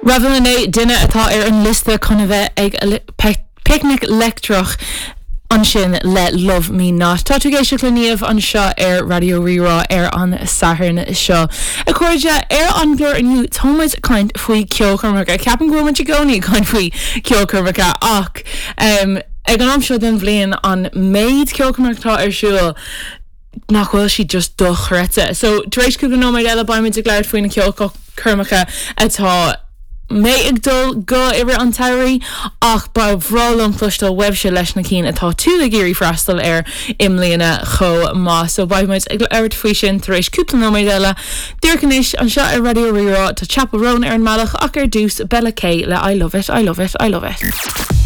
Revel Inné, duine atá ar an liosta chun a bheith ag Picnic Leictreach ansin le Love Me Not. Tá tú ag éisteacht le Niamh anseo ar Raidió Rí-Rá ar an Satharn seo. A chairde, ar an gclár inniu tá muid ag caint faoi ceolchoirmeacha. Ceapaim go bhfuil muid i gcónaí ag caint faoi ceolchoirmeacha ach ag an am seo den bhliain an méid ceolchoirmeacha atá ar siúl, nach bhfuil siad just dochreidte. So, tar éis cúpla nóiméad eile beidh muid ag labhairt faoi na ceolchoirmeacha atá mé ag dul go i rith an tsamhraidh ach ba bhreá liom cloisteáil uaibhse leis na cinn atá tú ag iarraidh freastal air i mbliana chomh maith. So beidh muid ag labhairt faoi sin tar éis cúpla nóiméad eile. Díreach anois, anseo ar Raidió Rí-Rá, tá Chappell Roan ar an mbealach ach ar dtús, Bella K le I Love It, I Love It, I Love It.